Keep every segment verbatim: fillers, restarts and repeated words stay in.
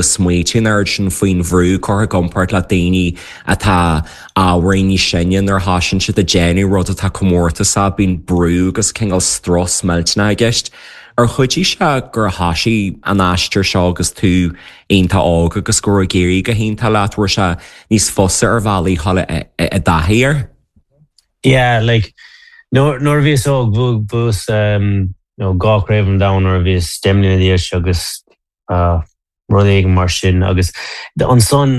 Smaoitiú an oiread sin faoin bhrú curtha i gcomparáid le daoine atá ábhairín níos sine nuair a thosaíonn siad ag déanamh rud atá comórtasach, bíonn brú agus cineál strus millteanach i gceist. Ar chuidigh sé gur thosaigh an aistear seo agus tú iontach óg agus go raibh ag éirí go hiontach leat, raibh sé níos fusa ar bhealaí dhul i dtaithí air? Yeah, like nuair nuair a bhíos óg bhuaigh bhuas um, you know, dhá chraobh an domhain nuair a bhíos deich mbliana d'aois agus uh, rud éigin mar sin agus ansan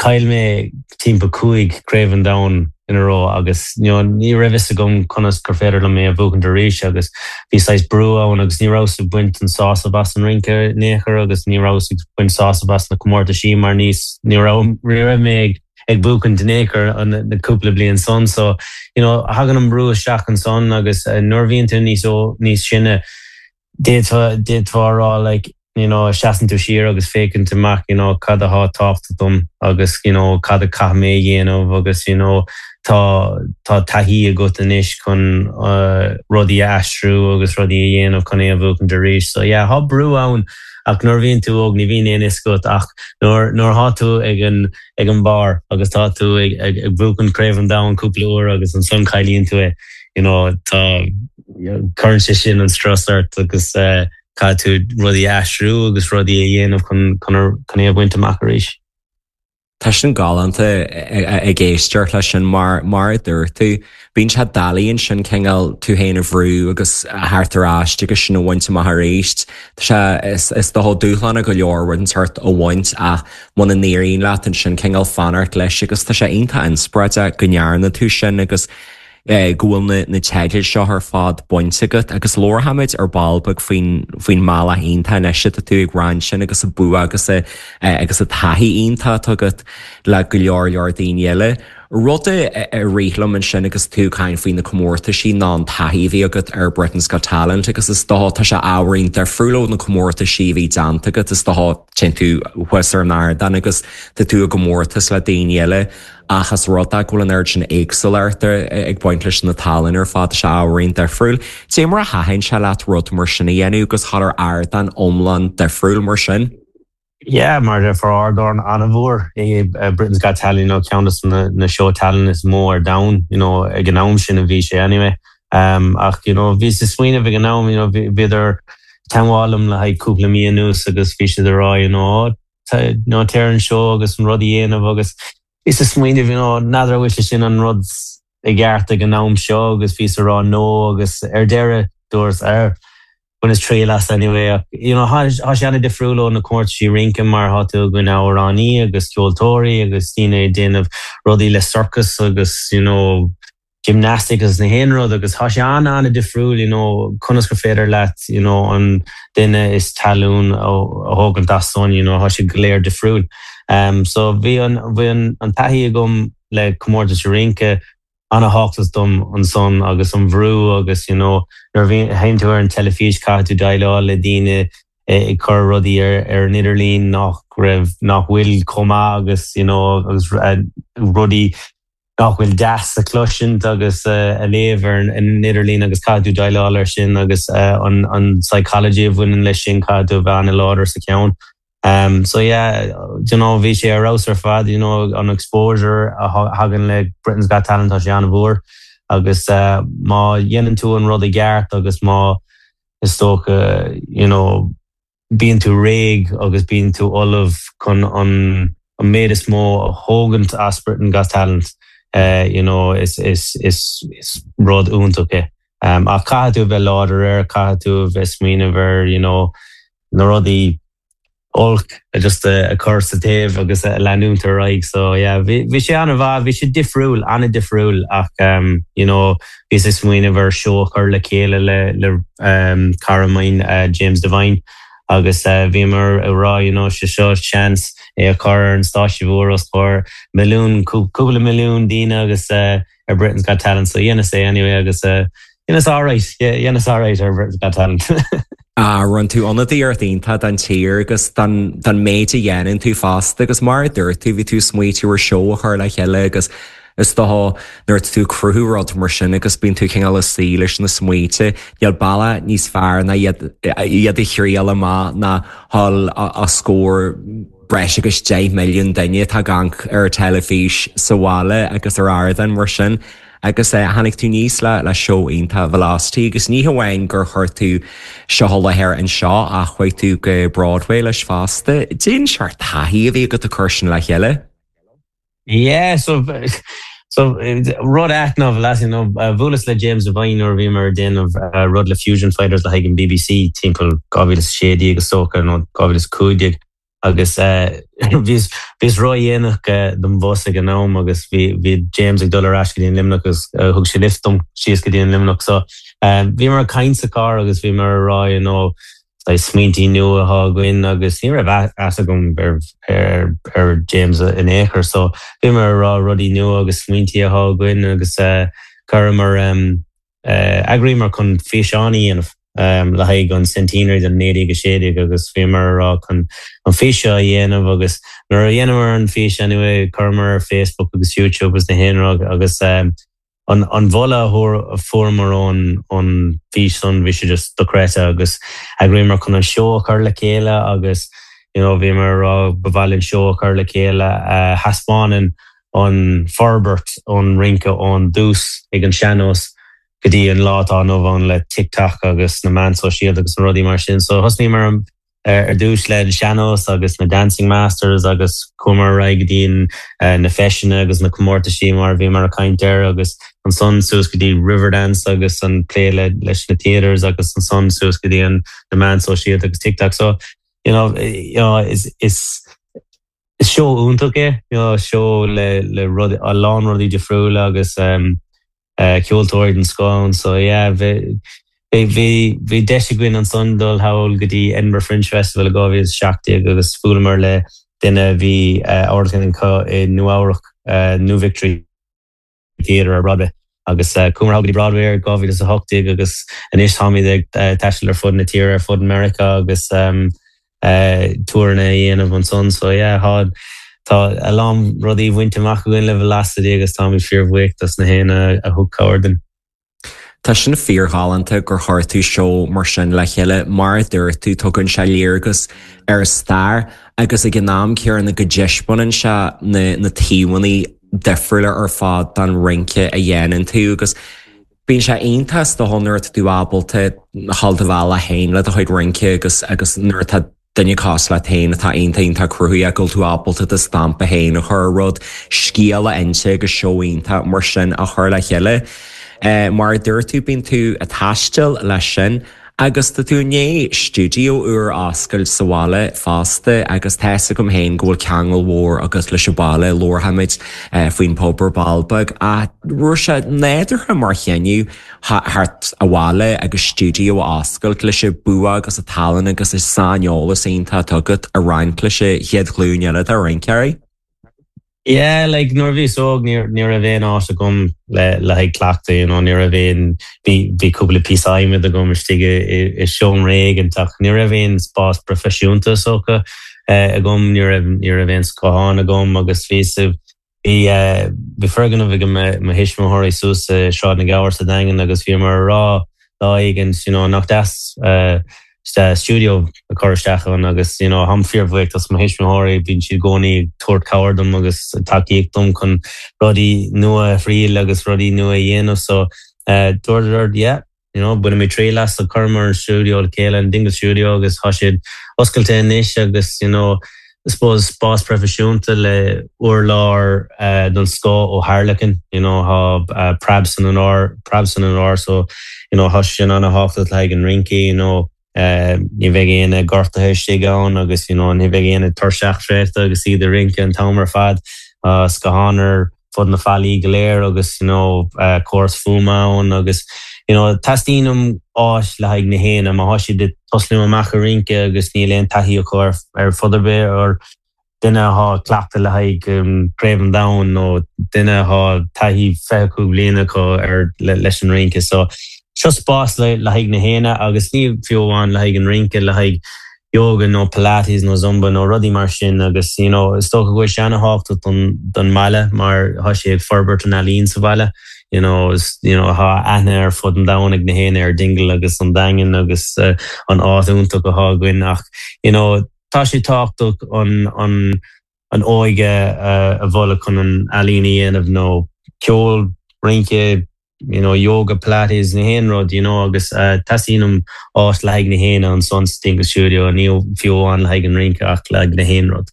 chaill mé timpeall cúig craobh an domhain in a row agus you know, ní raibh fhios agam conas gur féidir liom é a bhuachaint arís agus bhí saghas brú ann agus ní rabhas ag baint an sásamh as an rince in aon chor agus ní rabhas ag baint sásamh as na comórtaisí mar níos ní raibh ní raibh mé ag ag buachan in aon chor an na cúpla bliain san so you know, thagann an brú isteach ansan agus uh, nuair bhíonn tú níos ó níos sine d'fhéadfá rá like you know, seasann tú siar agus féachann tú amach you know, cad atá tábhachtach dom agus you know, cad a chaithfidh mé dhéanamh agus you know, tá tá taithí agat anois chun uh, rudaí a aistriú agus rudaí a dhéanamh chun é a bhuachan arís. So yeah, tá brú ann ach nuair bhíonn tú óg ní bhíonn aon fhios agat ach nuair nuair atá tú ag an ag an barr agus tá tú ag, ag, ag buachan craobh an domhain cúpla uair agus ansan cailleann tú é you know, tá cuireann sé sin an strus ort agus uh, caithfidh tú rudaí aistriú agus rudaí a dhéanamh chun chun é a bhaint amach arís. Tá sin galánta ag éisteacht leis sin mar mar a dúirt tú, bíonn sé doiligh sin cineál tú féin a bhrú agus theacht ar ais agus sin a bhaint amach arís. Tá sé is is dócha dúshlán go leor rud sort a bhaint ach muna n-éiríonn leat ansin cineál fanacht leis agus tá sé iontach inspioráideach go ndearna tú sin agus eh, go bhfuil na, na teidil seo ar fad bainte agat agus labharfaimid ar ball beag faoin faoin mbealach iontach anois atá tú ag roinnt sin agus a bua agus a, eh, agus a taithí iontach agat le go leor leor daoine eile. Rud a a rith liom ansin agus tú caint faoi na comórtaisí ná an taithí a bhí agat ar Britain's Got Talent agus is dócha tá sé ábhairín difriúil ó na comórtaisí a bhí déanta agat is dócha téann tú thuas ar an ardán agus tá tú i gcomórtas le daoine eile ach is rud é go bhfuil an oiread sin éagsúlacht ag baint leis na tallann ar fad sé ábhairín difriúil. Cé mar a thaitin sé leat rud mar sin a dhéanamh agus thar ar ardán iomlán difriúil mar sin. Yeah, mar for ardán an-mhór é uh, Britain's Got Talent you know, ceann de na, na seó talent is mó ar domhan you know, ag an am sin a bhí sé anyway. Um, ach you know, bhí sa smaoineamh ag an am you know, bhíodar i dteagmháil liom le haghaidh cúpla mí anuas agus bhí siad ag rá you know, no, tar an seó agus an rud a dhéanamh agus is a smaoineamh you know, n'fheadar bhfuil sé sin an rud i gceart ag an am seo agus bhí ag rá no agus ar deireadh dúirt ar baineas triail as anyway you know tá sé an-difriúil ó na comórtaisí rince mar tá tú go amhránaí agus ceoltóirí agus daoine ag déanamh rudaí le circus agus you know gymnastic agus na haon rud agus tá sé an an-difriúil you know conas gur féidir leat you know an duine is talún a thógaint as san you know tá sé go léir difriúil um so bhí an bhí an an taithí agam le comórtas rince an-tábhachtach dom ansan agus an bhrú agus you know nuair bhí théann tú ar an teilifís caithfidh tú déileáil le daoine ag cur rudaí ar ar an idirlíon nach raibh nach bhfuil chomh maith agus you know agus uh, rudaí nach bhfuil deas a chloisint agus uh, a léamh ar an idirlíon agus caithfidh tú déileáil ar sin agus uh, an, an psychology a bhaineann leis sin caithfidh tú bheith an-láidir sa cheann. Um, so yeah, you know, bhí sé ar fheabhas ar fad, you know, an exposure a thagann le Britain's Got Talent tá sé an-mhór agus uh, má dhéanann tú an rud i gceart agus má is dócha you know, bíonn tú réidh agus bíonn tú ullamh chun an an méid is mó a thógaint as Britain's Got Talent uh, you know, is, is, is, is rud iontach é. Um, ach caithfidh tú bheith láidir air, caithfidh tú bheith smaoineamh ar you know, na rudaí olc just a, a chur sa taobh agus a leanúint ar aghaidh so yeah bhí bhí sé an-mhaith bhí sé difriúil an-difriúil ach um, you know bhí sé smaoineamh ar seó a chur le chéile le le um, cara mine uh, James Devine agus uh, bhíomar ag rá you know sé seo seans é a chur ar an stáitse mhór os comhair milliún cúpla milliún daoine agus uh, ar Britain's Got Talent so dhéanas é anyway agus uh, dhéanas alright dhéanas alright ar Britain's Got Talent. A rinne tú ionadaíocht iontach don tír agus don méid a dhéanann tú fosta agus mar a dúirt tú bhí tú smaoitiú ar seó a chur le chéile agus is dócha nuair tú cruthú rud mar sin agus bíonn tú cineál ag suí leis na smaointe, Níl bealach níos fearr ná iad a thriail amach ná dhul os comhair breis agus deich milliún duine atá ag amharc ar teilifís sa bhaile agus ar ardán mar sin. agus eh, tháinig tú aníos le le seó iontach Velocity agus ní hamháin gur chuir tú seo i láthair anseo ach chuaigh tú go Broadway leis fosta. Cén seort taithí a bhí agat ag cur sin le chéile? Yeah, so so rud ait ná Velocity no bhuaileas le James Devine nuair bhí mar déanamh uh, rud le Fusion Fighters le haghaidh an BBC timpeall dhá mhíle sé déag agus sócha nó dhá mhíle cúig déag agus bhíos bhíos ródhéanach don bhus ag an am agus bhí bhí James ag dul ar ais go dtí an Luimneach agus thug sé lift dom síos go dtí an Luimneach so bhí mar caint sa car agus bhí mar rá you know, smaointí nua atá againn agus ní raibh fhios agam ar ar ar James in aon chor so bhí mar rá rudaí nua agus smaointí atá againn agus uh, chuir um, uh, eagraíomar chun físeán a dhéanamh um, le haghaidh an centenary den naoi déag sé déag agus bhí mar rá chun an físeán a dhéanamh agus nuair a dhéanamar an físeán chuireamar ar Facebook agus YouTube agus na haon agus um, an an mholadh a fuaireamar ón an físeán bhí sé just dochreidte agus eagraíomar chun an seó a chur le chéile agus you know, bhí mar rá bhil an seó a chur le chéile uh, thaispeánann an forbairt an rince ón dtús ag an sean-nós go dtí an lá atá inniu ann le TikTok agus na meáin shóisialta agus na rudaí mar sin so thosnaíomar ar dtús le sean-nós agus na Dancing Masters agus chuamar ar aghaidh go dtí na feiseanna agus na comórtaisí mar bhí mar a caint air agus ansan suas go dtí Riverdance agus an plé le leis na theatres agus ansan suas go dtí an na meáin shóisialta agus TikTok so you know, you know, is is is seó iontach é you know, seó le le rud a lán rudaí difriúla agus um, uh, ceoltóirí den scoth so yeah, bhí bhí bhí deis againn ansan dul thall go dtí Edinburgh Fringe Festival a dhá mhíle seacht déag agus bhuaileamar le duine bhí amharclann i Nua-Eabhrac New Victory Theatre ar Broadway agus chuamar go dtí Broadway ar dhá mhíle a hocht déag agus anois táimid ag taisteal ar fud na tíre ar fud America agus um, uh, túrna dhéanamh ansan so yeah, tá tá a lán rudaí bainte amach againn le Velocity agus táimid fíorbhuíoch dos na héinne a thug cabhair dúinn. Tá sin fíorghalánta gur chuir tú seó mar sin le chéile mar a dúirt tú tugann sé léargas ar stair agus ag an am céanna go dtaispeánann sé na, na taobhanna difriúla ar fad den rince a dhéanann tú agus Bíonn sé iontach do nuair tú ábalta dul do bhealach féin le do chuid rince agus agus nuair atá duine cosúil leat féin atá iontach iontach cruthaitheach go tú ábalta do stampa féin a chur rud scéal a inse agus seó iontach mar sin a chur le chéile. Uh, mar dúirt tú bíonn tú ag taisteal leis sin, agus tá tú i ndiaidh stiúideo úr a oscailt sa bhaile fosta agus tá fhios agam féin go bhfuil ceangal mhór agus leis an baile labharfaimid uh, faoin pub ar ball beag a raibh sé nádúrtha mar chinneadh theacht abhaile agus stiúideo a oscailt leis an bua agus an tallann agus an saineolas iontach atá agat a roinnt leis an chéad ghlúin eile de rinceoirí. Yeah, like nuair bhíos óg ní ní raibh aon áit agam le le haghaidh cleachtadh you know, ní raibh aon bhí bhí cúpla píosa adhmaid agam istigh i seomra éigin ach ní raibh aon spás proifisiúnta socha uh, agam ní raibh ní raibh aon scáthán agam agus bhí bhí uh, bhí foirgneamh ag mo thuismitheoirí suas Sráid na Gabhar sa Daingean agus bhí mar rá lá éigin you know, nach deas uh, stiúideo a chur isteach ann agus you know, táim fíorbhuíoch dos mo thuismitheoirí bíonn siad i gcónaí tabhairt cabhair dom agus tacaíocht dom chun rudaí nua a thriail agus rudaí nua a dhéanamh so uh, dúirt yeah you know, bainfidh mé triail as a chuireamar stiúideo le chéile an Dingle Studio agus tá siad oscailte anois agus you know, I suppose spás proifisiúnta le urlár uh, don scoth ó Harlequin you know, tá uh, preab san an ár preab san an ár so you know, tá sin an-tábhachtach le an rince you know, Uh, ní bheidh aon gortuithe istigh ann agus you know, ní bheidh aon tuirseach traochta agus iad ag rince an t-am ar fad uh, scáthán ar fud na fallaí go léir agus you know, uh, córas fuaime ann agus you know, teastaíonn áis le haghaidh na héinne má tá siad ag tosnú amach ag rince agus níl aon taithí acu ar ar fud ar bith ar duine atá ag cleachtadh le haghaidh um, Craobh an Domhain nó duine atá taithí fiche cúig bliana acu ar le, leis an rince so seo spás le le haghaidh na héinne agus ní fiú amháin le haghaidh an rince le haghaidh yoga nó pilates nó zumba nó rudaí mar sin agus you know, is dócha go bhfuil sé an-tábhachtach don don mbaile mar tá sé ag forbairt an ealaín sa bhaile. You know, is, you know, tá aithne ar fud an domhain ag na héinne ar Dingle agus an Daingean agus uh, an áit iontach atá againn ach you know, tá sé tábhachtach an an an óige a mholadh chun an ealaín a dhéanamh nó ceol rince you know yoga pilates na haon rud you know agus uh, teastaíonn áit le haghaidh na haon ansan sa Dingle Studio ní fiú amháin le haghaidh an rince ach le haghaidh na haon rud.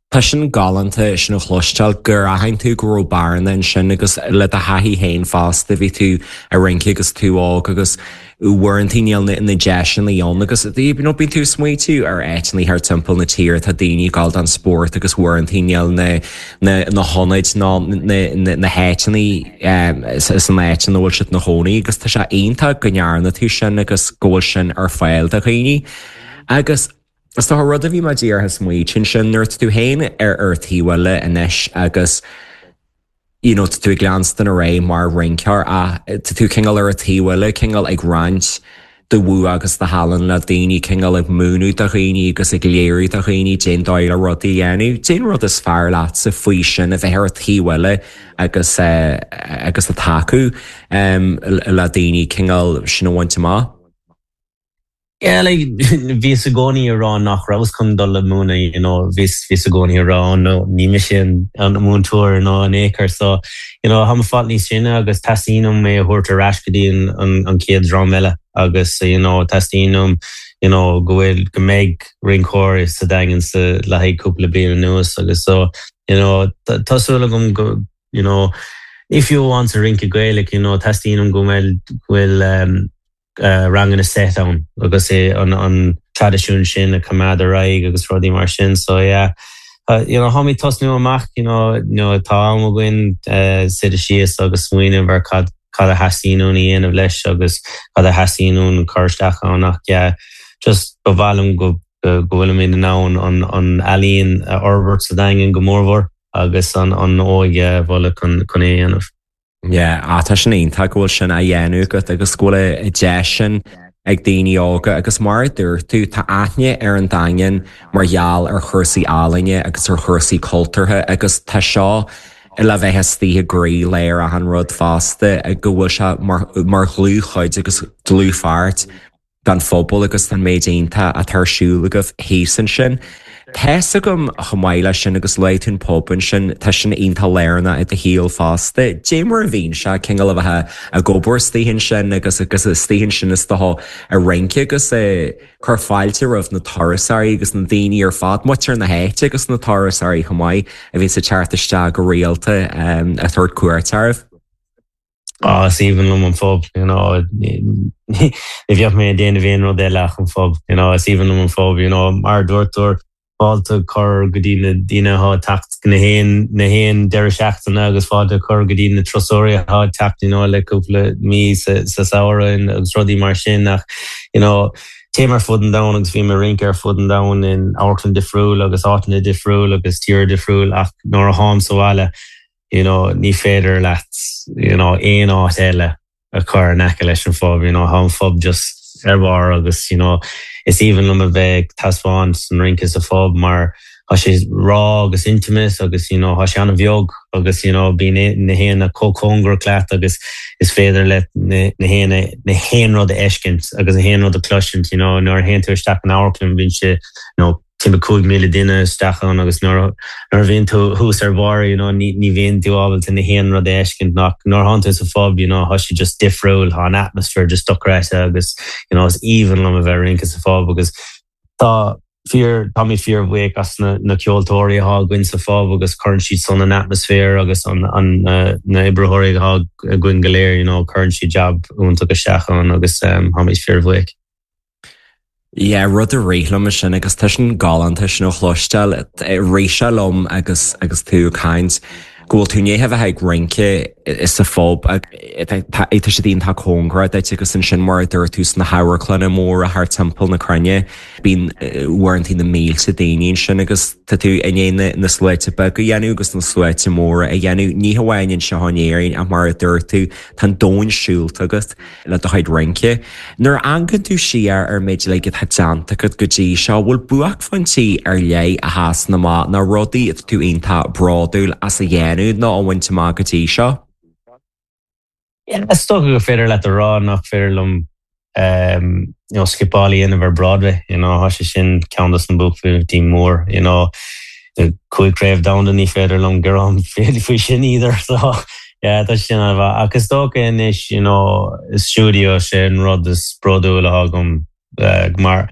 Tá sin galánta sin a chloisteáil gur aithin tú go raibh bearna ansin agus le do thaithí féin fosta bhí tú ag rince agus tú óg agus uaireanta níl na deiseanna ann agus you know, bíonn tú smaoitiú ar áiteanna thar timpeall na tíre tá daoine ag gabháil don spórt agus uaireanta níl na na na hionaid ná na na na háiteanna san áit ina bhfuil siad ina gcónaí agus tá sé iontach go ndearna tú sin agus go bhfuil sin ar fáil do dhaoine. Agus Is tá rud a bhí mé díreach ag smaoitiú sin nuair tú féin ar ar taobh eile anois agus you know, tú ag leanstan ar aghaidh mar rinceoir a tá tú cineál ar an taobh eile cineál ag roinnt do bhua agus do thallann le daoine cineál ag múineadh do dhaoine agus ag léiriú do dhaoine cén dóigh le rudaí a dhéanamh. Cén rud is fearr leatsa faoi sin a bheith ar an taobh eile agus uh, agus ag tacú um, le daoine cineál sin a bhaint amach. Yeah, like bhíos i gcónaí ag rá nach rabhas chun dul le múineadh you know bhíos bhíos i gcónaí ag rá no ní mise an múinteoir nó an éair so you know táim fáil níos sine agus teastaíonn uaim é a thabhairt ar ais go dtí an an, an chéad dream eile agus you know teastaíonn you know go bhfuil go mbeidh rinceoir sa Daingean sa le haghaidh cúpla bliain anuas agus so you know tá súil agam go you know if you want to rince Gaeilge you know teastaíonn go bhfuil go bhfuil um, uh, ranganna set ann agus é an an traidisiún sin a choimeád ar aghaidh agus rudaí mar sin so yeah uh, you know táimid tosnú amach you know you know tá am againn uh, suí síos agus smaoineamh ar cad cad a theastaíonn uainn a dhéanamh leis agus cad a theastaíonn uainn cur isteach ann ach yeah just ba mhaith liom go go bhfuilimid in ann an an ealaín a fhorbairt sa Daingean go mórmhór agus an an óige a mholadh chun chun é a dhéanamh. Yeah, á tá sin iontach go bhfuil sin á dhéanamh agat agus go bhfuil a deis sin ag daoine óga agus mar a dúirt tú tá aithne ar an Daingean mar gheall ar chúrsaí ealaíne agus ar chúrsaí cultúrtha agus tá seo le bheith istigh i gcroílár achan rud fosta go bhfuil sé mar, mar dhlúthchuid agus dlúthpháirt den phobal agus den méid iontach atá ar siúl agaibh thíos ansin. Tá fhios agam chomh maith leis sin agus luaigh tú an pub ansin tá sin iontach lárnach i do shaol fosta. Dé mar a bhíonn sé cineál a bheith ag obair istigh ansin agus agus istigh ansin is dócha ag rince agus ag cur fáilte roimh na turasóirí agus na daoine ar fad muintir na háite agus na turasóirí chomh maith a bhíonn ag teacht isteach go rialta um, ag tabhairt cuairt oraibh. Ah, is aoibhinn liom an phub you know ní bheadh mé ag déanamh aon rud eile ach an phub you know is aoibhinn liom an phub you know mar dúirtúir fáilte chur go dtí na daoine atá ag teacht na haon na haon deireadh seachtaine agus fáilte chur go dtí na turasóirí atá ag teacht you know le cúpla mí sa sa samhradh agus rudaí mar sin ach you know téim ar fud an domhain agus bhí mé ag rince ar fud an domhain in amharclann difriúil agus áiteanna difriúil agus tír difriúil ach nuair a tháim sa bhaile you know ní féidir leat you know aon áit eile a chur in aice leis an phub you know tá an phub just ar barr agus you know is aoibhinn liom a bheith ag taispeáint an rince sa phub mar tá sé raw agus intimate agus you know tá sé an-bheag agus you know bíonn na haoinne chomh cóngarach leat agus is féidir le na na haoinne na haon rud a fheiscint agus na haon rud a chloisint you know nuair a théann tú isteach in amharclann bíonn sé you know timpeall cúig míle duine isteach ann agus nuair nuair a bhíonn tú thuas ar bharr you know ní ní bhíonn tú ábalta na haon rud a fheiscint ach nuair a théann tú sa phub you know tá sé just difriúil tá an atmosphere just dochreidte agus you know is aoibhinn liom a bheith ag rince sa phub agus tá fíor tá mé fíorbhuíoch as na na ceoltóirí atá againn sa phub agus cuireann siad san an atmosphere agus an an na na oibritheoirí atá againn go léir you know cuireann siad job iontach isteach ann agus um, tá mé fíorbhuíoch. Yeah, rud a rith liom sin agus tá sin galánta sin a chloisteáil rith sé liom agus agus tú ag caint go bhfuil tú i ndiaidh a bheith ag rince sa phub tá sé iontach cóngarach duit agus ansin mar a dúirt tú sna hamharclanna móra thar timpeall na cruinne bíonn uaireanta na mílte daoine ansin agus tá tú i ndiaidh na sluaite beaga a dhéanamh agus na sluaite móra a dhéanamh ní hamháin anseo in Éirinn ach mar a dúirt tú tá an domhan siúlta agat le do chuid rince. Nuair a amharcann tú siar ar méid le atá déanta agat go dtí seo bhfuil buaicphointí ar leith a sheasann amach na rudaí atá tú iontach bródúil as a dhéanamh nó a bhaint amach go dtí seo? Is dócha gur féidir leat a rá nach féidir liom um, you know, skippáil a dhéanamh ar Broadway, you know, tá sé sin ceann des na buaicphointí mór, you know, cúig craobh domhanda ní féidir liom gearán faoi sin either so yeah, tá sin an agus dócha anois you know, stiúideo sin rud is bródúla agam uh, mar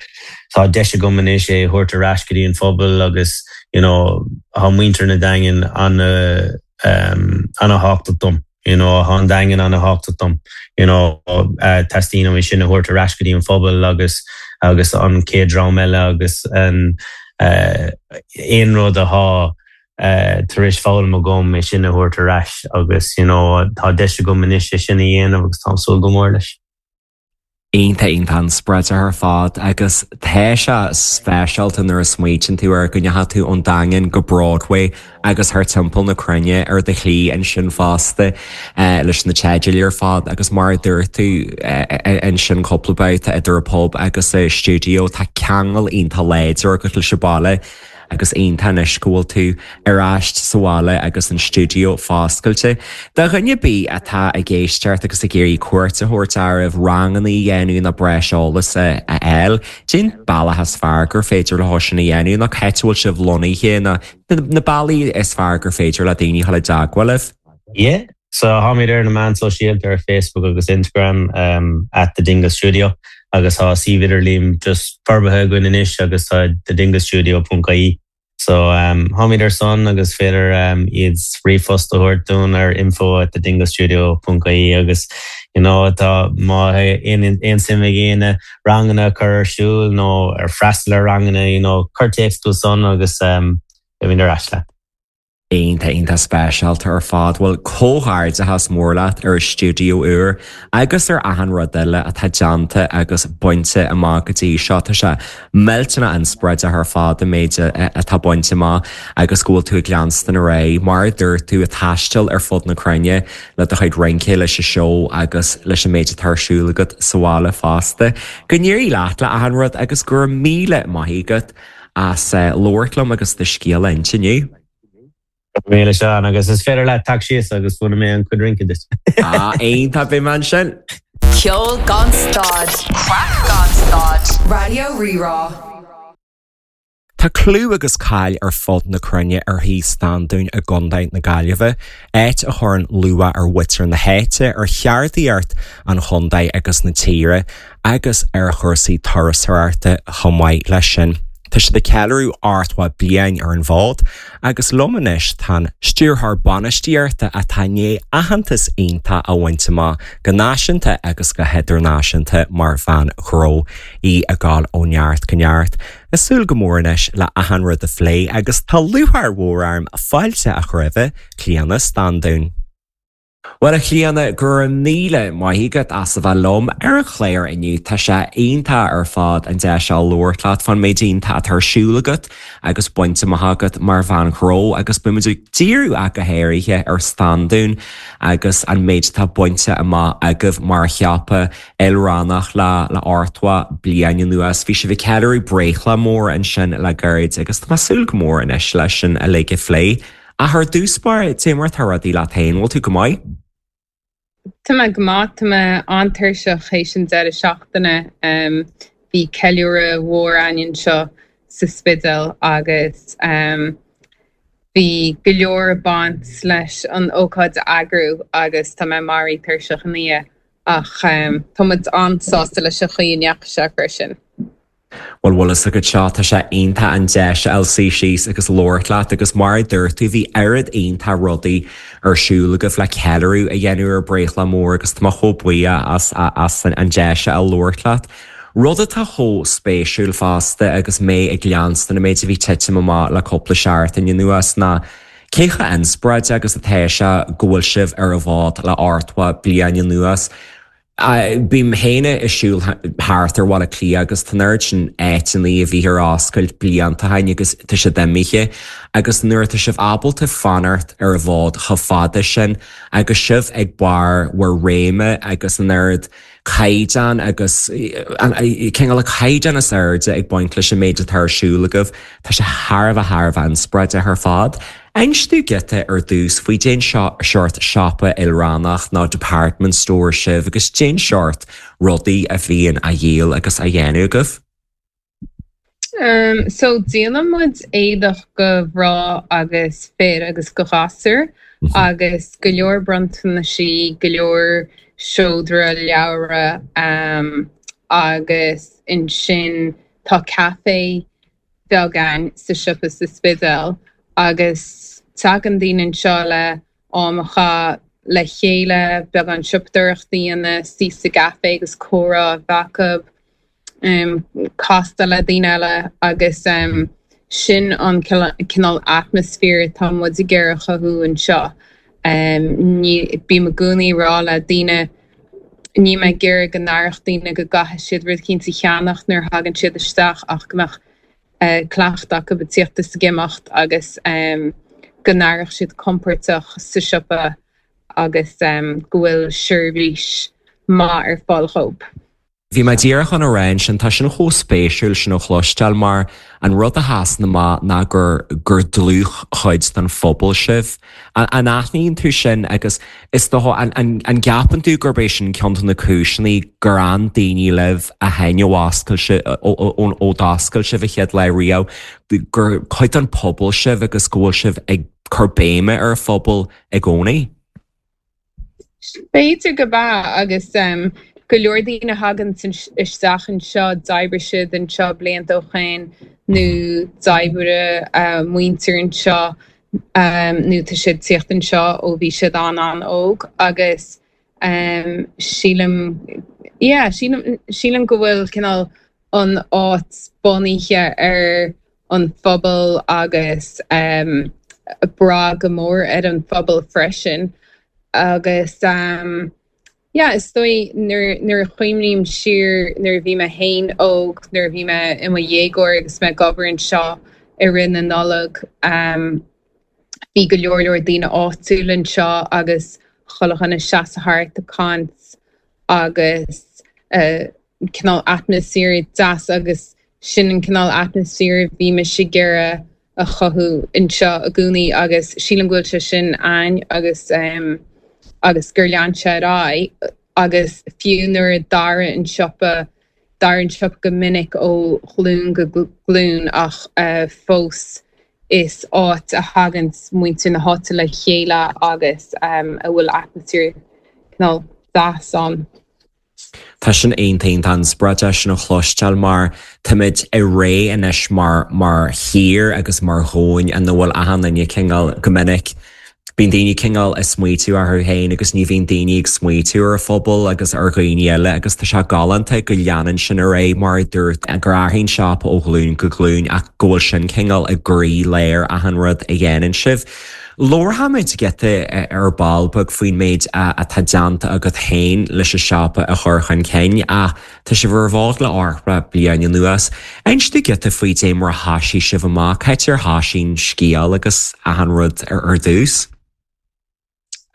tá deis agam anois é thabhairt ar ais go dtí an phobal agus you know, tá muintir na Daingean an um, an-tábhachtach dom. You know, tá an Daingean an-tábhachtach dom. You know, uh, teastaíonn uaim sin a thabhairt ar ais go dtí an phobal agus agus an chéad dream eile agus an uh, aon rud atá uh, tar éis foghlaim agam é sin a thabhairt ar ais agus you know, tá deis agam anois é sin a dhéanamh agus tá súil go mór leis. Iontach iontach inspioráideach ar fad agus tá sé speisialta nuair a smaoitíonn tú ar go ndeachaigh tú ón Daingean go Broadway agus thar timpeall na cruinne ar do shlí ansin fosta leis na teidil ar fad agus mar a dúirt tú ansin cúpla babhta idir an pub agus an stiúideo tá ceangal iontach láidir agat leis an baile agus iontach anois go bhfuil tú ar ais sa bhaile agus an stiúideo foscailte. Do dhuine ar bith atá ag éisteacht agus ag iarraidh cuairt a thabhairt oraibh ranganna a dhéanamh nó breis eolais a fháil, cén bealach is fearr gur féidir leo sin a dhéanamh nó cá bhfuil sibh lonnaithe na na bealaí is fearr gur féidir le daoine dul i dteagmháil libh? Yeah, so táimid ar na meáin sóisialta ar Facebook agus Instagram um, at the Dingle Studio agus tá suíomh idirlín just forbartha againn anois agus tá thedinglestudio.ie. So um, táimid ar san agus féidir um, iad ríomhphost a thabhairt dúinn ar info at thedinglestudio.ie agus you know, tá má aon suim ag éinne ranganna chur ar siúl nó ar freastal ar ranganna you know, cuir téacs chugainn san agus um, ar ais leat. Iontach iontach speisialta ar fad bhfuil comhghairdeachas mór leat ar an stiúideo úr agus ar achan rud eile atá déanta agus bainte amach go dtí seo tá sé millteanach inspioráideach ar fad an méid atá bainte amach agus go bhfuil tú ag leanstan ar aghaidh mar a dúirt tú ag taisteal ar fud na cruinne le do chuid rince leis an seó agus leis an méid atá ar siúl agat sa bhaile fosta. Go n-éirí leat le achan rud agus go raibh míle maith agat as labhairt liom agus do scéal a inse inniu. Míle Seán agus is féidir le teacht síos agus múinfidh mé an chuid rince duit. Á iontach beidh mé ansin. Ceol gan stad, Craic gan stad, Raidió Rí-Rá. Tá clú agus cáil ar fud na cruinne ar Thigh Standún i gContae na Gaillimhe, áit a chuireann lúcháir ar mhuintir na háite ar cheardaíocht an chontae agus na tíre, agus ar chúrsaí turasóireachta chomh maith leis sin. Tá siad ag ceiliúradh ochtó bliain ar an bhfód agus liom anois tá an stiúrthóir bainistíochta atá i ndiaidh aitheantas iontach a bhaint amach go náisiúnta agus go hidirnáisiúnta mar bhean ghnó í ag gabháil ó neart go neart. Ag súil go mór anois le achan rud a phlé agus tá lúcháir mhór orm fáilte a chur roimh Clíona Standún. Well a Chlíona go raibh míle maith agat as a bheith liom ar an chlár inniu tá sé iontach ar fad an deis a labhairt leat fán méid iontach atá ar siúl agat agus bainte amach agat mar bhean ghnó agus beimid ag díriú ach go háirithe ar Standún agus an méid atá bainte amach agaibh mar shiopa ilrannach le le ochtó bliain anuas. Bhí sibh ag ceiliúradh breithlá mór ansin le gairid agus tá mé ag súil go mór anois leis sin uilig a phlé. Ach ar dtús báire cad é mar atá rudaí leat féin, bhfuil tú go maith? Tá mé go maith tá mé an-tuirseach théis an deireadh seachtaine um, bhí ceiliúradh mhór againn anseo sa Spidéal agus um, bhí go leor baint leis an ócáid a eagrú agus tá mé maraithe tuirseach inniu ach um, tá muid an-sásta leis an chaoi a ndeachaigh sé freisin. Well bhfuil a fhios agat seo tá sé iontach an deis a fháil suí síos agus labhairt leat agus mar a dúirt tú bhí oiread iontach rudaí ar siúl agaibh le ceiliúradh a dhéanamh ar breithlá mór agus tá mé chomh buíoch as as an deis a labhairt leat. Rud atá chomh spéisiúil fosta agus mé ag leanstan an méid a bhí ag titim amach le cúpla seachtain anuas ná cé chomh inspioráideach agus atá sé go bhfuil sibh ar an bhfód le ochtó bliain anuas. Bím féin ag siúl thart ar Bhaile Átha Cliath agus tá an oiread sin áiteanna a bhí ar oscailt blianta ó shin agus tá siad imithe agus nuair atá sibh ábalta fanacht ar an bhfód chomh fada sin agus sibh ag barr bhur réime agus an oiread caighdeán agus cineál caighdeán is airde ag baint leis an méid atá ar siúl agaibh, Tá sé thar a bheith thar a bheith inspioráideach ar fad. Inis dúinn giota ar dtús faoi cén seort siopa ilrannach nó department store sibh agus cén seort rudaí a bhíonn á dhíol agus á dhéanamh agaibh? Um, so díolann muid éadach do mhná agus fir agus do ghasúir mm -hmm. agus go leor bronntanaisí go leor seodra leabhra um, agus ansin tá café beag againn sa siopa sa Spidéal agus tagann daoine anseo le am a chaitheamh le chéile beagán siopadóireachta a dhéanamh suí sa gcafé agus comhrá a bheith acu um, castáil le daoine eile agus um, sin an cineál atmaisféar atá muid ag iarraidh a chothú anseo. Um, bím i gcónaí ag rá le daoine níl mé ag iarraidh go n-aireodh daoine go gcaithfidh siad rud éicint a cheannach nuair a thagann siad isteach ach go mbeadh uh, cleachtadh acu ag tíocht is ag imeacht agus um, go n-aireodh siad compordach sa siopa agus um, go bhfuil seirbhís maith ar fáil dóibh. Bhí mé díreach chun a rá sin tá sin chomh spéisiúil sin a chloisteáil mar an rud a sheasann amach ná gur gur dlúthchuid den phobal sibh. An aithníonn tú sin agus is dócha an gceapann tú gurb é sin ceann de na cúiseanna gur fhan daoine libh ó shin ó d'oscail sibh an chéad lá riamh gur cuid den phobal sibh agus go bhfuil sibh ag cur béime ar an phobal i gcónaí? B'fhéidir gurb ea agus um, go leor daoine a thagann isteach anseo d'oibrigh siad anseo blianta ó shin nó d'oibrigh uh, muintir anseo um, nó tá siad ag tíocht anseo ó bhí siad an an-óg agus um, sílim yeah, sílim, sílim go bhfuil cineál an áit bunaithe ar an phobal agus um, brath go mór ar an phobal freisin agus um, yeah, is dóigh nuair a chuimhním siar nuair a bhí mé féin óg nuair a bhí mé i mo dhéagóir agus mé ag obair anseo i rith na Nollag um, bhí go leor leor daoine áitiúil anseo agus chuile dhuine ag seasamh thart ag caint agus uh, cineál atmaisféar deas agus sin an cineál atmaisféar bhí mise ag iarraidh a chothú anseo i gcónaí agus sílim go bhfuil sé sin ann agus um, agus gur lean sé ar aghaidh agus fiú nuair a d'athraigh an siopa d'athraigh an siopa go minic ó ghlúin go glúin ach uh, fós is áit a thagann muintir na háite le chéile agus um, a bhfuil atmaisféar cineál deas ann. Tá sin iontach an-spreagúil sin a chloisteáil mar táimid i ré anois mar mar thír agus mar dhomhan ina bhfuil achan duine cineál go minic. Bíonn daoine cineál ag smaoitiú orthu féin agus ní bhíonn daoine ag smaoitiú ar a phobal agus ar dhaoine eile agus tá sé galánta go leanann sin ar aghaidh mar dúirt gur athraíonn siopa ó ghlúin go glúin ach go bhfuil sin cineál i gcroílár achan rud a dhéanann sibh. Labharfaimid giota ar ball beag faoin méid atá déanta agat féin leis an siopa a chur chun cinn ach tá sibh ar an bhfód le ceathracha bliain anuas. Inis dúinn giota faoi dé mar a thosaigh sibh amach cad é mar a thosaigh an scéal agus achan rud ar ar dtús.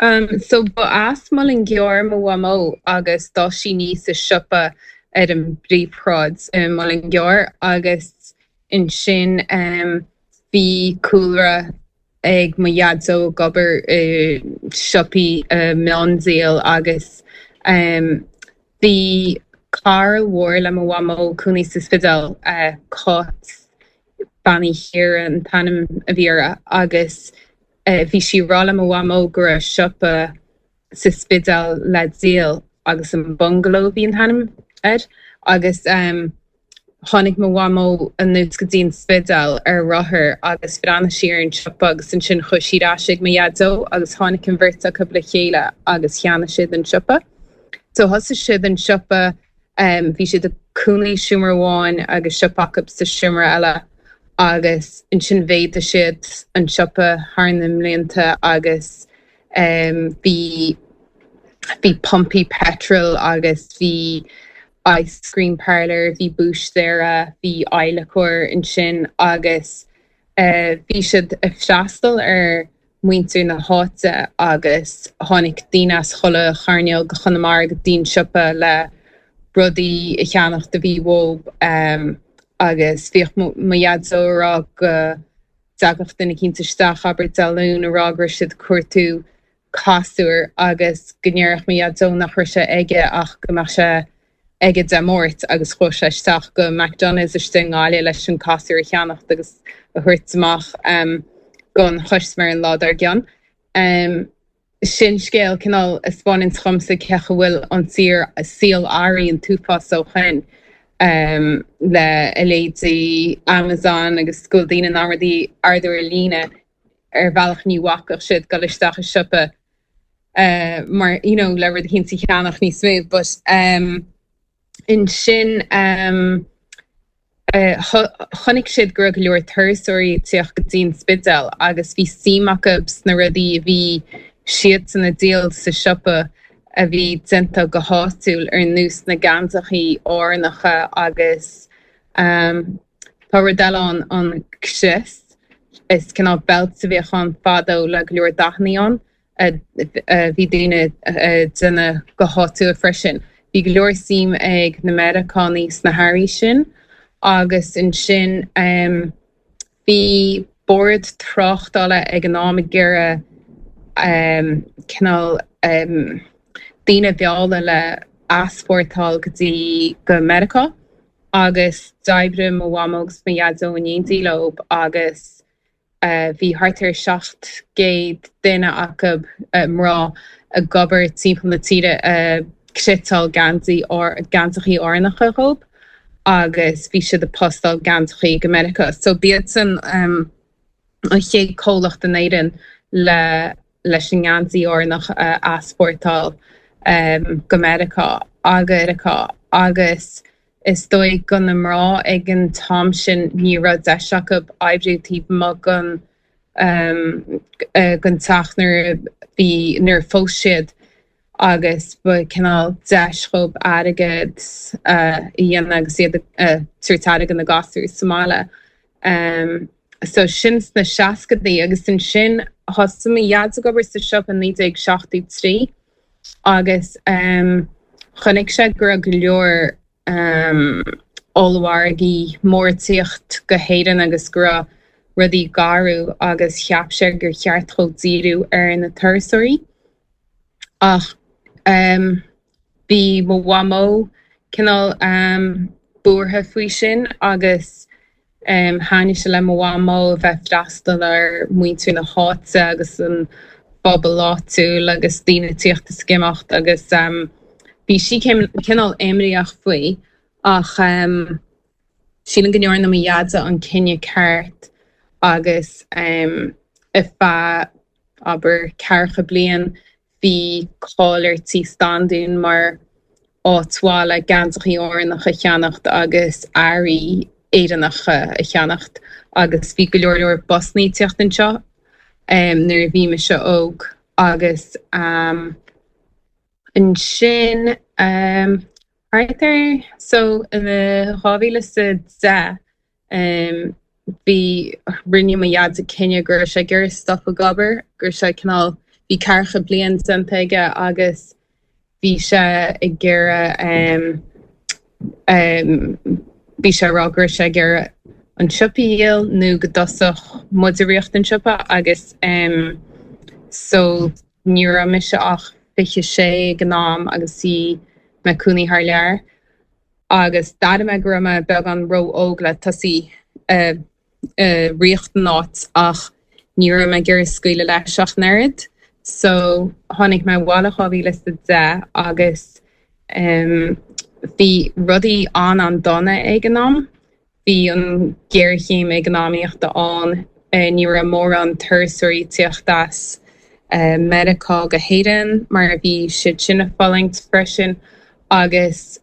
Um, so ba as Mullingar mo mhamó agus d'fhás sí aníos sa siopa ar an bpríomhshráid i Mullingar agus ansin um, bhí cúlra ag mo dhaideo ag obair i siopaí uh, miondíol agus um, bhí cara mhór le mo mhamó cónaí sa Spidéal uh, Cáit Bean Uí Chiara an t-ainm a bhí uirthi agus uh, bhí sí ag rá le mo mhamó go raibh siopa sa Spidéal le díol agus an bungalow bhí an t-ainm air agus um, tháinig mo mhamó anuas go dtí an Spidéal ar rothar agus bhreathnaigh sí ar an siopa agus ansin chuaigh sí ar ais ag mo dhaideo agus tháinig an bheirt acu le chéile agus cheannaigh siad an siopa. So thosaigh siad an siopa um, bhí siad ag cónaí seomra amháin agus siopa acu sa seomra eile agus ansin mhéadaigh siad an siopa thar na mblianta agus um, bhí bhí pumpaí petrol agus bhí ice cream parlour, bhí búistéara, bhí adhlacóir ansin agus uh, bhí siad ag freastal ar muintir na háite agus tháinig daoine as chuile chearnóg de Chonamara go dtí an siopa le rudaí a cheannach a bhí uathu um, agus bhíodh mo dhaideo ag rá go dtagadh duine eicínt isteach abair Dé Luain a rá go raibh siad ag cuartú casúr agus go ndéarfadh mo dhaideo nach raibh sé aige ach go mbeadh sé aige Dé Máirt agus chuaigh sé isteach go McDonald's istigh i nGaillimh leis an casúr a cheannacht agus a thabhairt amach um, don chustaiméir an lá dár gcionn. Um, sin scéal cineál a 'spáineann dhomsa cé go bhfuil an saol saol athraithe an t-uafás ó shin um, le a leithéidí Amazon agus go bhfuil daoine in ann rudaí a ordú ar líne ar bhealach ní bhacfadh siad dul isteach i siopa uh, mar you know, le rud eicínt a cheannach níos mó, but um, ansin um, uh, chonaic siad go raibh go leor turasóirí ag teacht go dtí an Spidéal agus bhí suim acu sna rudaí a bhí siadsan ag díol sa siopa a bhí déanta go háitiúil ar nós na geansachaí Árannacha agus um, tá rud eile ann an crios is cineál belt a bhíodh ann fadó le go leor dathanna ann a bhí daoine déanamh go háitiúil freisin. Bhí go leor suim ag na Meiriceánaigh sna hearraí sin agus ansin um, bhí bord tráchtála ag an am ag iarraidh um, cineál um, daoine a mhealladh le easpórtáil go dtí go Meiriceá agus d'oibrigh mo mhamó agus mo dhaideo in éindí leo agus uh, bhí thart ar seacht gcéad duine acu uh, mná ag obair timpeall na tíre uh, cniotáil geansaí geansachaí Árannacha dhóibh agus bhí siad ag postáil geansachaí go Meiriceá. So b'iadsan um, an chéad chomhlacht in Éirinn le leis an ngeansaí Árannach uh, easpórtáil um, go Meiriceá agus agus is dóigh go na mná ag an t-am sin ní raibh deis acu oibriú taobh amuigh den um, uh, den teach nuair bhí nuair phós siad agus ba cineál deis dhóibh airgead uh, a dhéanamh agus iad uh, tabhairt airgead na gasúir sa mbaile. Um, so sin sna seascadaí agus ansin thosaigh mo dhaid ag obair sa siopa naoi déag seachtó trí agus um, chonaic sé go raibh go leor um, ollmhargaí mór ag tíocht go hÉirinn agus go raibh rudaí garbh agus cheap sé gur cheart dhó díriú ar na turasóirí. Ach um, bhí mo mhamó cineál um, buartha faoi sin agus um, thaitnigh sé le mo mhamó a bheith freastal ar muintir na háite agus an phobal áitiúil agus daoine tíocht is ag imeacht agus um, bhí sí cineál imníoch faoi ach um, sílim go ndearna mo dhaid an cinneadh ceart agus um, ar feadh abair ceathracha bliain bhí cáil ar Tí Standún mar áit mhaith le geansachaí Árannacha a cheannacht agus earraí Éireannacha a cheannacht agus bhí go leor leor busanna ag tíocht anseo um, nuair a bhí mise óg agus um, ansin um, thart ar so in dhá mhíle sa deich um, bhí rinne mo dhaid cinneadh go raibh sé ag iarraidh stop ag obair gur sé cineál bhí ceathracha bliain déanta aige agus bhí sé ag iarraidh um, um, bhí sé rá gur sé ag iarraidh an siopa a dhíol nó go dtosódh muid ag rith an siopa agus um, so ní raibh mise ach fiche sé ag an am agus bhí mé i mo chónaí thar lear. agus d'airigh mé go raibh mé beagán ró-óg le tosaí uh, uh, rith an áit ach ní raibh mé ag iarraidh scaoileadh leis ach an oiread. So tháinig mé abhaile dhá mhíle sa deich agus um, bhí rudaí an an-dona ag an am. Bhí an ghéarchéim eacnamaíochta ann uh, ní raibh mórán turasóirí ag tíocht as uh, Meiriceá go hÉirinn mar a bhí siad sin ag fulaingt freisin agus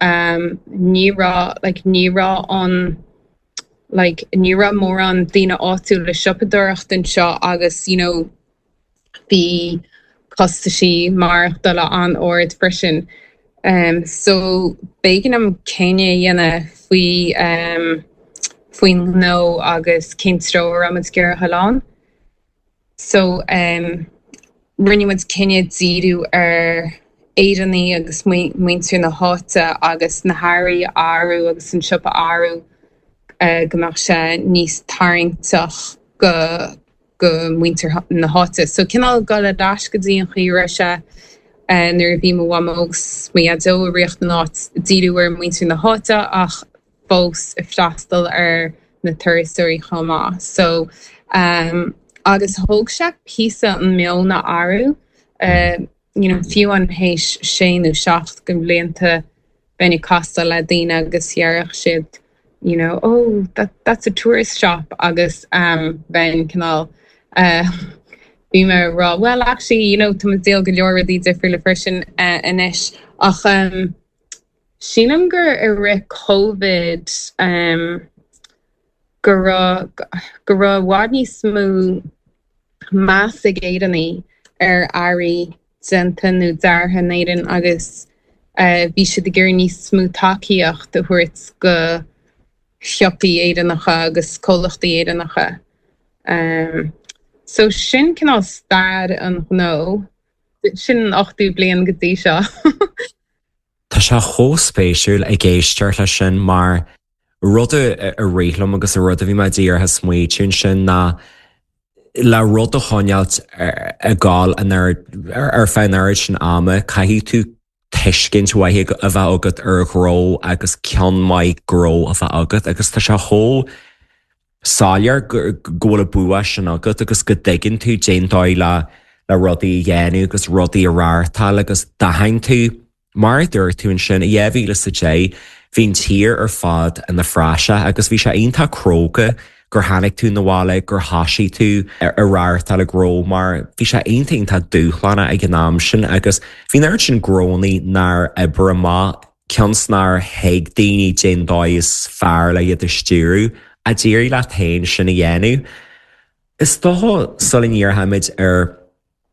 um, ní raibh like, ní raibh an like, ní raibh mórán daoine áitiúil ag siopadóireacht anseo agus you know, bhí costaisí maireachtála an-ard freisin. Um, so b'éigean dom cinneadh a dhéanamh faoi um, faoin ngnó agus cén treo a raibh muid ag iarraidh dul ann. So um, rinne muid cinneadh díriú ar Éireannaigh agus muintir na háite agus na hearraí a athrú agus an siopa a athrú uh, go mbeadh sé níos tarraingteach go go muintir na háite. So cineál dul ar ais go dtí an chaoi a raibh sé nuair a bhí mo mhamó agus mo dhaideo ag ritheacht an áit díriú ar muintir na háite ach fós ag freastal ar na turasóirí chomh maith. So um, agus thóg sé píosa an meon a athrú uh, you know, fiú an théis sé nó seacht go blianta bheinn ag castáil le daoine agus déarfadh siad you know, oh that, that's a tourist shop agus um, bheinn cineál uh, bhí mé rá well actually you know, tá díol go leor rudaí difriúla freisin uh, anois ach um, sílim gur i rith COVID um, go raibh go raibh i bhfad níos mó meas ag Éireannaigh ar earraí déanta nó deartha in Éirinn agus uh, bhí siad ag iarraidh níos mó tacaíocht a thabhairt go siopaí Éireannacha agus comhlachtaí Éireannacha. Um, so sin cineál stair an ghnó, sin an ochtú bliain go dtí seo. Tá sé chomh spéisiúil ag éisteacht leis sin mar rud a rith liom agus a rud a bhí mé díreach ag smaointiú sin ná le rud a choinneáilt ag gabháil ar feadh an oiread sin ama, caithfidh tú tuiscint mhaith a bheith agat ar ghnó agus ceann maith gnó a bheith agat agus tá sé chomh soiléir go bhfuil an bua sin agat agus go dtuigeann tú cén dóigh le le rudaí a dhéanamh agus rudaí a reáchtáil agus d'aithin tú mar a dúirt tú ansin i dhá mhíle is a deich bhí an tír ar fad ina phraiseach agus bhí sé iontach cróga gur tháinig tú 'na bhaile gur thosaigh tú ar reáchtáil gnó mar bhí sé iontach iontach dúshlánach ag an am sin agus bhí an oiread sin gnónna nár oibrigh amach cionn is nár thuig daoine cén dóigh is fearr le iad a stiúradh a d'éirigh leat féin sin a dhéanamh. Is dócha sula ndíreoimid ar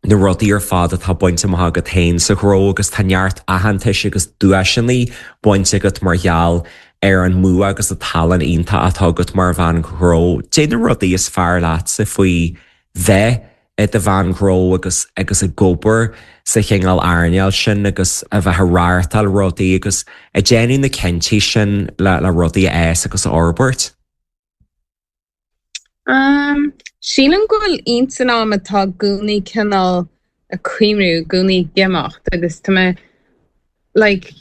na rudaí ar fad atá bainte amach agat féin sa ghnó agus tá neart aitheantais agus duaiseanna bainte agat mar gheall ar an mbua agus an tallann iontach atá agat mar bhean ghnó. Cé na rudaí is fearr leatsa faoi bheith i do bhean ghnó agus agus ag obair sa chineál earnáil sin agus a bheith ag reáchtáil rudaí agus ag déanamh na cinntí sin le le rudaí a fhás agus a fhorbairt. Um, sílim go bhfuil intinn agam atá i gcónaí cineál ag cuimhniú, i gcónaí ag imeacht agus tá mé like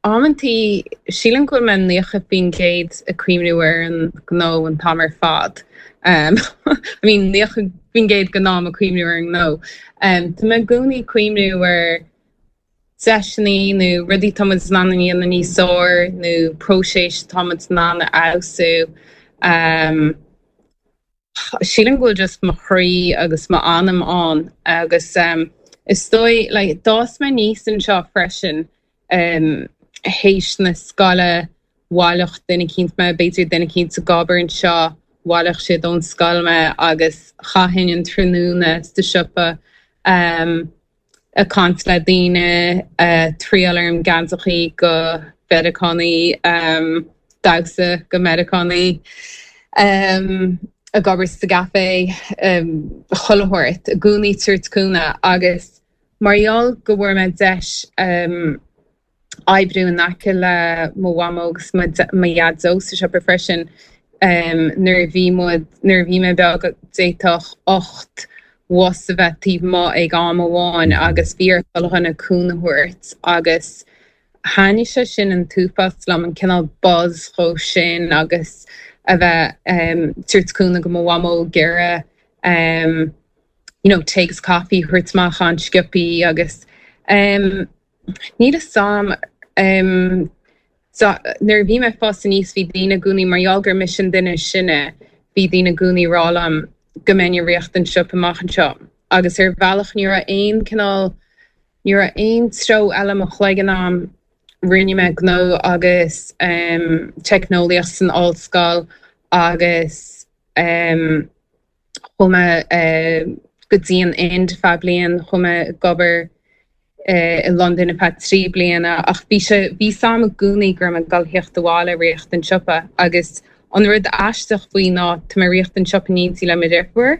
amantaí sílim go bhfuil mé naocha faoin gcéad ag cuimhniú ar an gnó an t-am ar fad. Um, I mean naocha faoin gcéad den am ag cuimhniú ar an ngnó. Um, tá mé i gcónaí ag cuimhniú ar deiseanna nó rudaí tá muid in ann a dhéanamh níos fearr nó próiseas tá muid in ann a fheabhsú. Um, sílim go bhfuil just mo chroí agus mo anam ann agus um, is dóigh like, d'fhás mé aníos anseo freisin um, théis na scoile bhaileodh duine eicínt mé b'fhéidir duine eicínt ag obair anseo bhaileodh siad ón scoil mé agus chaithfinn an tráthnóna sa siopa um, ag caint le daoine uh, triail orm geansachaí go Meiriceánaigh um, damhsa go Meiriceánaigh. Um, ag obair sa gcaife um, chuile shórt, i gcónaí ag tabhairt cúnamh agus mar gheall go bhfuair mé deis um, oibriú in aice le mo mhamó agus mo dhaideo sa siopa freisin um, nuair a bhí muid nuair a bhí mé beag d'fhéadfadh ocht bhus a bheith taobh amuigh ag am amháin agus bhí ar chuile dhuine cúnamh a thabhairt agus thaitnigh sé sin an t-uafás liom an cineál buzz chomh sin agus a bheith um, tabhairt cúnamh go mo mhamó géire um, you know, tae agus caife thabhairt amach an-sciobtha agus um, níl a fhios agam um, so, nuair a bhí mé ag fás aníos bhí daoine i gcónaí mar gheall gur mise an duine sine bhí daoine i gcónaí ag rá liom go mbeinn ag rith an siopa amach anseo agus ar bhealach ní raibh aon cineál ní raibh aon treo eile mo chloigeann agam rinne mé gnó agus um, teicneolaíocht san ollscoil agus um, chuaigh mé uh, go dtí an Ind feadh bliain chuaigh mé ag obair uh, i London ar feadh trí bliana ach bhí sé bhí a fhios agam i gcónaí go raibh mé ag dul theacht abhaile ag rith an siopa agus an rud aisteach faoi ná tá mé ag rith an siopa in éindí le mo dheirfiúr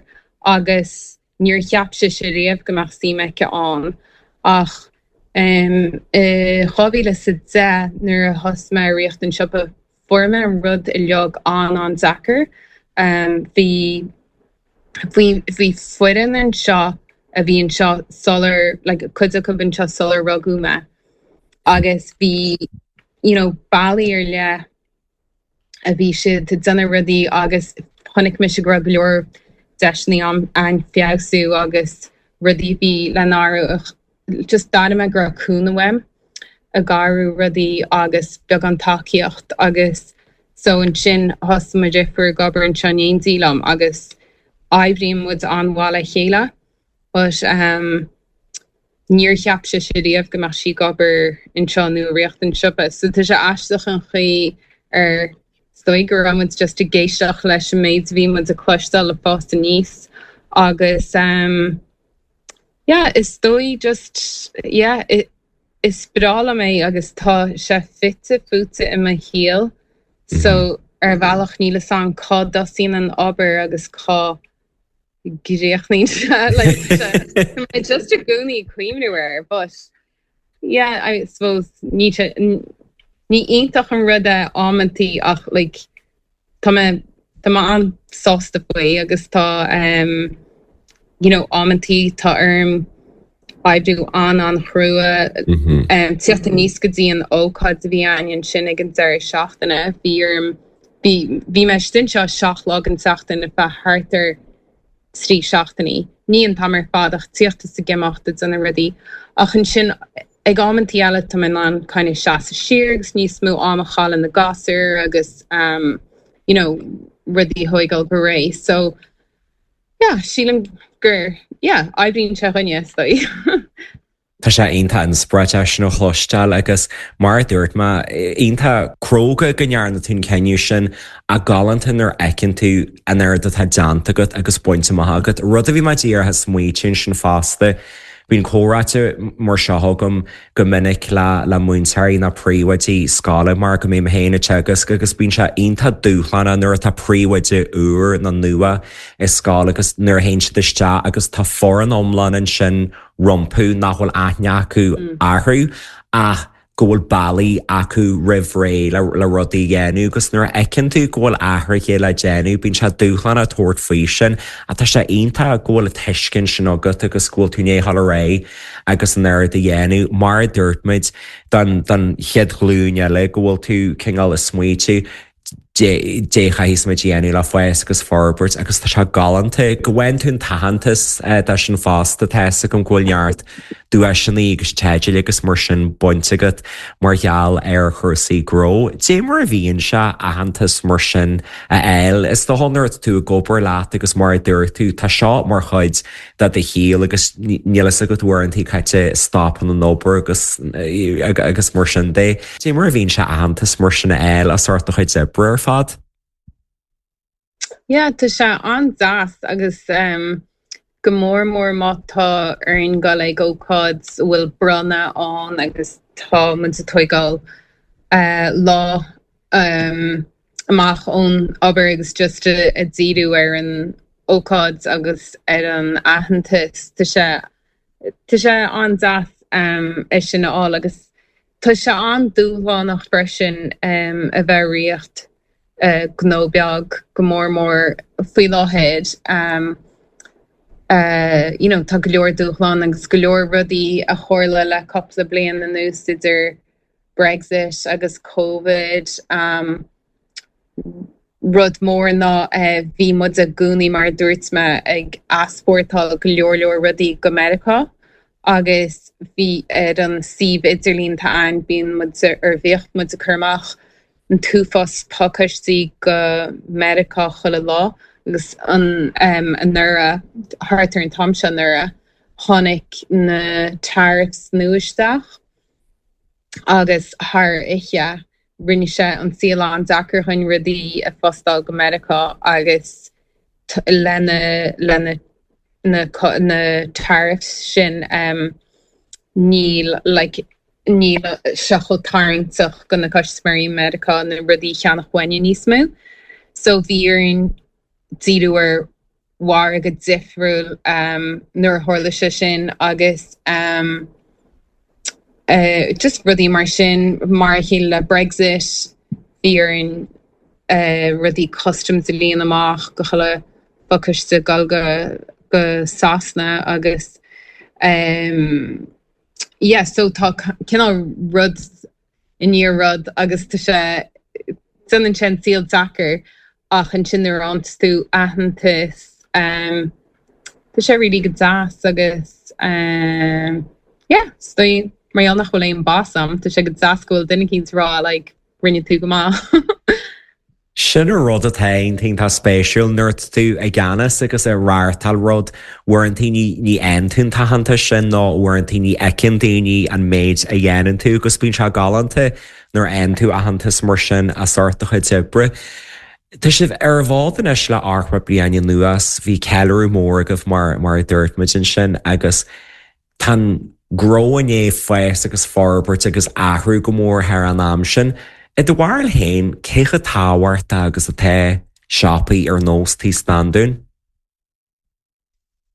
agus níor cheap sise riamh go mbeadh suim aici ann ach um, i dhá mhíle is a deich nuair a thosaigh mé ag rith an siopa fuair mé an rud uilig an an-deacair. Um, bhí Bhí bhí foireann anseo a bhí anseo sular like cuid acu anseo sular rugadh mé agus bhí you know bealaí ar leith a bhí siad ag déanamh rudaí agus chonaic mise go raibh go leor deiseanna ann feabhsú agus rudaí bhí le n-athrú just d'airigh mé go raibh cúnamh uaim ag athrú rudaí agus beagán tacaíocht agus so ansin thosaigh mo dheirfiúr ag obair anseo in éindí liom agus oibríonn muid an-mhaith le chéile but um, níor cheap sise riamh go mbeadh sí ag obair anseo nó i riocht an siopa so tá sé aisteach an chaoi ar is dóigh go raibh muid just ag éisteacht leis an méid a bhí muid ag cloisteáil le fás aníos agus um, yeah, is dóigh just yeah, is breá liom é agus tá sé fite fuaite i mo shaol so ar bhealach níl a fhios agam cá dtosaíonn an obair agus cá gcríochnaíonn sé just i gcónaí cuimhneamh air but yeah I suppose ní ní iontach an rud é amantaí ach like tá mé tá mé an-sásta faoi agus tá um, you know amantaí tá orm oibriú an an-chrua um, tíocht aníos go dtí an ócáid a bhí ann sin ag an deireadh seachtaine bhí orm bhí bhí mé anseo seacht lá an tseachtain ar feadh thart ar trí seachtainí. Ní an t-am ar fad ach tíocht is ag imeacht ag déanamh rudaí ach ansin ag amantaí eile tá mé an kind of seasamh siar agus níos mó am a chaitheamh le na gasúir agus um, you know, rudaí a thógáil go réidh. So yeah, sílim gur yeah, oibríonn sé chuige is dóigh. Tá sé iontach inspioráideach sin a chloisteáil agus mar a dúirt mé iontach cróga go ndearna tú an cinneadh sin ach galánta nuair a fheiceann tú an oiread atá déanta agat agus bainte amach agat. Rud a bhí mé díreach ag smaointiú sin fosta. Bíonn comhráite mar seo agam go minic le le múinteoirí nó príomhoidí scoile mar go mbím féin ag teagasc agus bíonn sé iontach dúshlánach nuair atá príomhoide úr nó nua i scoil agus nuair a théann siad isteach agus tá foireann iomlán ansin rompu nach bhfuil aithne acu orthu ach go bhfuil bealaí acu roimh ré le, le rudaí a dhéanamh agus nuair a fheiceann tú go bhfuil athruithe le déanamh bíonn sé dúshlánach tabhairt faoi sin ach tá sé iontach go bhfuil an tuiscint sin agat agus go bhfuil tú ag dul ar aghaidh agus an oiread a dhéanamh mar a dúirt muid don don chéad ghlúin eile go bhfuil tú cineál ag smaointiú dé chaithfidh muid dhéanamh le fás agus forbairt agus tá sé galánta go bhfaigheann tú an t-aitheantas dá sin fosta tá a fhios agam go bhfuil neart duaiseanna agus teidil agus mar sin bainte agat mar gheall ar chúrsaí gnó. Dé mar a bhíonn sé aitheantas mar sin a fháil is dócha nuair atá tú ag obair leat agus mar a dúirt tú tá seo mar chuid de do shaol agus níl a fhios agat uaireanta cá stopann an obair agus agus mar sin de. Dé mar a bhíonn sé aitheantas mar sin a fháil as ucht do chuid oibre ar fad? Yeah, tá sé an-deas agus um, go mór mór má tá orainn dul ag ócáid a bhfuil bronnadh ann agus tá muid ag tógáil uh, lá um, amach ón obair agus just a, a díriú ar an ócáid agus ar an aitheantas Tá sé Tá sé an-deas um, é sin a fháil agus tá sé an-dúshlánach freisin um, a bheith ag riar uh, gnó beag go mór mór faoi láthair. Um, uh, you know, tá go leor dúshlán agus go leor rudaí a tharla le cúpla bliain anuas idir Brexit agus COVID. Um, rud mór ná uh, bhí muid i gcónaí mar dúirt mé ag easpórtáil go leor leor rudaí go Meiriceá agus bhí ar an suíomh idirlín atá ann bíonn muid ar bhíodh muid ag cur amach an t-uafás pacáistí go Meiriceá chuile lá agus an um, anuraidh thart ar an t-am seo anuraidh tháinig na tariffs nua isteach agus thar oíche rinne sé an saol an-deacair chun rudaí a phostáil go Meiriceá agus lena lena na na tariffs sin um, níl like, níl sé chomh tarraingteach go na custaiméirí Meiriceá na rudaí a cheannach uainne níos mó. So bhí orainn díriú ar mhargadh difriúil um, nuair a tharla sé sin agus um, uh, just rudaí mar sin mar a chéile le Brexit bhí orainn uh, rudaí customs a líonadh amach go chuile pacáiste dul go go Sasana agus um, yeah, so tá cineál rud i ndiaidh rud agus tá sé déanann sé an saol deacair ach ansin nuair a fhaigheann tú aitheantas um, tá sé really go deas agus um, yeah, is dóigh mar gheall nach bhfuil aon boss agam, tá sé go deas go bhfuil duine éicint ag rá like, rinne tú go maith. Sin an rud atá iontach spéisiúil nuair atá tú i gceannas agus ag reáchtáil rud uaireanta ní ní fhaigheann tú an t-aitheantas sin nó uaireanta ní fheiceann daoine an méid a dhéanann tú agus bíonn sé galánta nuair a fhaigheann tú aitheantas mar sin as ucht do chuid oibre. Tá sibh ar an bhfód anois le hocht bliana anuas bhí ceiliúradh mór agaibh mar mar a dúirt muid ansin agus tá gnó i ndiaidh fás agus forbairt agus athrú go mór thar an am sin. I do bharúil féin cé chomh tábhachtach agus atá siopaí ar nós Tí Standún?